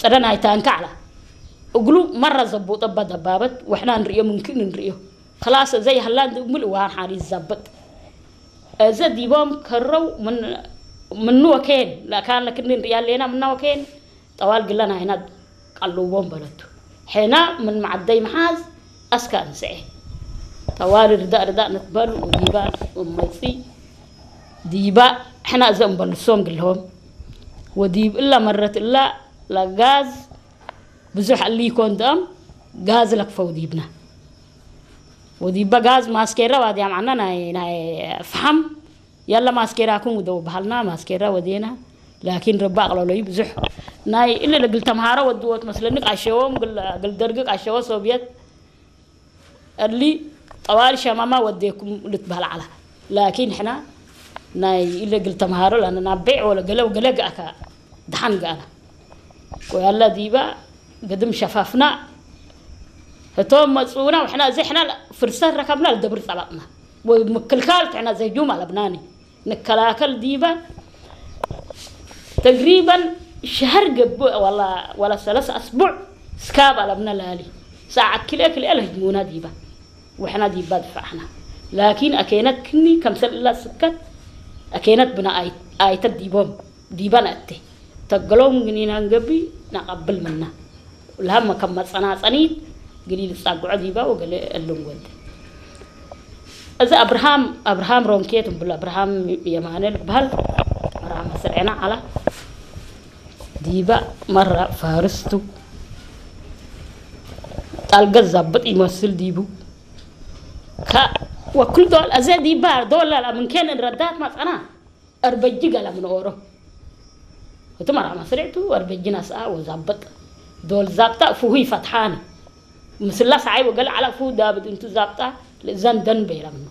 ጥረ ናይ ታንካ ዓላ እግሉ መራ ዘቦጠባ ደባበት ወሕና ንርእዮ ምንክን ንርእዮ ክላስ ዘይሃላን ድእምል እዋን ሓሪ ይዛበጥ። እዚ ዲቦም ከረው ምን- ምኑ ወከየን ለካን ለክኒ ንርእያ ኣለና ምና ወከየን ጠዋል ግለን ኣይና ቀልዎም በለቱ። ሕና ምን መዓደይ መሓዝ ኣስካ እንስኤ ጠዋል ርዳእ ርዳእ ንትበል ወዲባ ወመፂ ዲባ ሕና እዘም በልሶም ግልሆም ወዲብ እላ መረት እላ ለጋዝ ብዙሕ እሊ ይኮን ደም ጋዝ ለክፈው ዲብና ወዲባ ጋዝ ማስኬራ ዋዲያ ማዕና ናይ ናይ ፍሓም ያለ ማስኬራኩም ውደው በሃልና ማስኬራ ወዴና ላኪን ረባ ኣቕለሎዩ ብዙሕ ናይ እለ ለግል ተምሃሮ ወድዎ ትመስለኒ ቃሸዎም ግል ግል ደርጊ ቃሸዎ ሶብየት እሊ ጠዋል ሸማማ ወዴኩም ልትበሃል ዓላ ላኪን ሕና ናይ እለ ግል ተምሃሮ ላነ ናብ ቤዕ ወለ ገለ ገለ ገኣካ ድሓን ገኣና ወያላ ዲባ ግድም ሸፋፍና እቶም መጽኡና ወሕና እዚ ሕና ፍርሰት ረከብና ልደብር ጸባጥና ወይ ምክልካል ትሕና ዘህጁም ኣለብናኒ ንከላከል ዲባ ተግሪበን ሸህር ገብእ ወላ ወላ ሰለስ ኣስቡዕ ስካብ ኣለብና ላሊ ሰዓት ክልኤ ክልኤ ለህጅሙና ዲባ ወሕና ዲባ ድፋዕና ላኪን ኣኬነት ክኒ ከምሰል እላ ስከት ኣኬነት ብና ኣይ- ኣይተት ዲቦም ዲባ ነእቴ ተገሎም ግኒና ንገቢ ናቐብል ምና ላም ከም መጸናጸኒት ግሊ ልጻጉዖ ዲባ ወገለ እልም ወደ እዚ ኣብርሃም ኣብርሃም ሮንኬት እምብል ኣብርሃም የማነ ልበሃል መርዓ መስርዕና ዓላ ዲባ መራ ፋርስቱ ጣልገ ዛብጥ ይመስል ዲቡ ካ ወክል ዶል ኣዘ ዲባ ዶላር ምንኬን ረዳት ማጸና ኣርበጂ ገላ ምንኦሮ እቲ መርዓ መስርዕቱ ኣርበጂ ናስኣ ወዛብጥ ዶል ዛብጣ ፍሁይ ፈትሓኒ ምስላ ሰዓይ ወገለ ዓላ ፍሁ ዳብድ እንቱ ዛብጣ ልእዘን ደን በይራ ምኖ